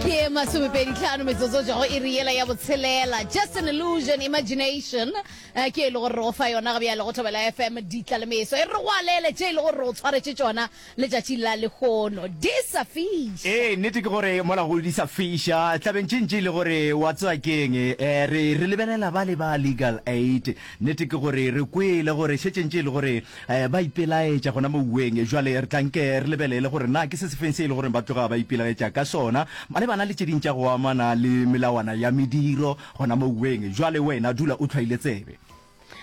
Ke masomepeditlhano metsotso tšwa go iri yela ya botshelela. Just an illusion, imagination. Eh, ke e le gore re go fa yona ga bjale go Thobela FM ditla le meso. E re go alele tše e le gore re go tshwaretše tšona letšatši la lehono. Di sa fiša. Ee, nnete ke gore mola go di sa fiša, tlabeng tše ntši e le gore wa tseba keng, eh, re, re lebelela ba le ba Legal Aid. Nnete ke gore re kwele gore šetše ntše e le gore eh, ba ipelaetša gona mouweng. Jwale re tla nke re lebelele gore na ke se sefeng se e le gore ba tloga ba ipelaetša ka sona malebana le tše ding tša go amana le melawana ya mediro gona mouweng. Jwale wena dula o hlwaile tsebe.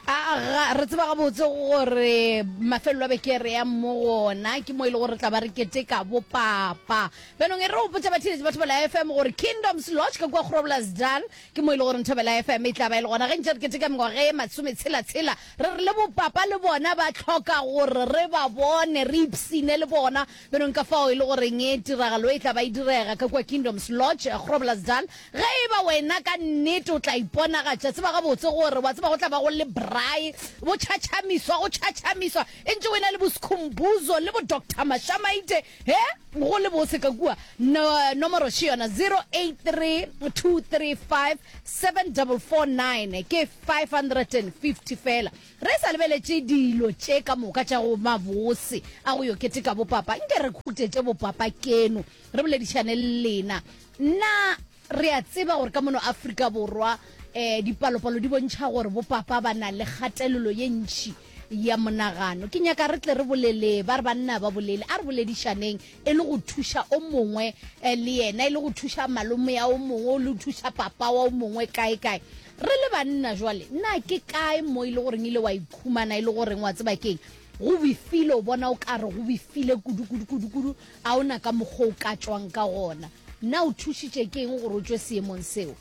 A ga re tseba gabotse gore mafelelo a beke re yang mo gona ke mo e le gore re tla ba re keteka bopapa. Bjanong e re gopotša batheeletši ba Thobela FM gore Kingdoms Lodge ka kua Groblersdal ke mo e le gore Thobela FM e tla ba e le gona ge ntše re keteka mengwaga e masometshela-tshela. Re re le bopapa le bona ba hloka gore re ba bone, re ipshine le bona. Bjanong ka fao e le goreng tiragalo e tla ba e direga ka kua Kingdoms Lodge, Groblersdal. Ge e ba wena ka nnete o tla iponagatša, tseba gabotse gore wa tseba go tla ba go le braai, bo tšhatšhamiswa, go tšhatšhamiswa, e ntše o e na le bo Skhumbuzo le bo Doctor Mashamaite, he, go le bose ka kua. No, nomoro še yona, 0832357449, ke 550 feela. Re sa lebeletše dilo tše ka moka tša go mabose a go yo keteka bopapa, nke re khutetše bopapa keno, re boledišane le lena. Na re a tseba gore ka mono Afrika Borwa um dipalopalo di bontšha gore bopapa ba na le kgatelelo ye ntši ya monagano? Ke nyaka re tle re bolele, ba re banna ba bolele, a re boledišaneng e le go thuša o mongwe le yena, e le go thuša malome ya o mongwe, le go thuša papa wa o mongwe kae kae. Re le banna jwale, na ke kae mo e le goreng ile wa ikhumana e le goreng wa tseba keng, go befile, o bona o ka re go befile kudu kudu kudu kudu, A o na ka mokgwa o ka tšwang ka gona? Na o thušitše ke eng gore o tšwe seemong seo?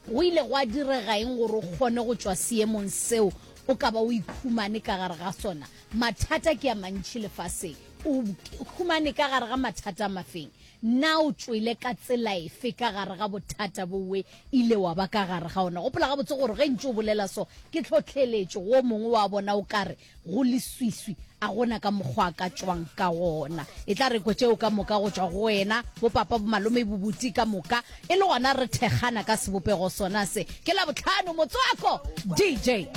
Go ile gwa direga eng gore o kgone go tšwa seemong seo o ka ba o ikhumane ka gare ga sona? Mathata ke a mantši lefaseng. O humane ka gare ga mathata a mafeng? Na o tšwele ka tsela efe ka gare ga bothata bowe ile wa ba ka gare ga ona? Gopola gabotse gore ge ntše o bolela so, ke tlhohleletšo go o mongwe wa bona o ka re, Go leswiswi, a go na ka mokgwa a ka tšwang ka gona. E tla re kwe tšeo ka moka go tšwa go wena, bopapa, bomalome, bobuti ka moka, e le gona re thekgana ka sebopego sona se. Ke Labohlano, motswako, DJ.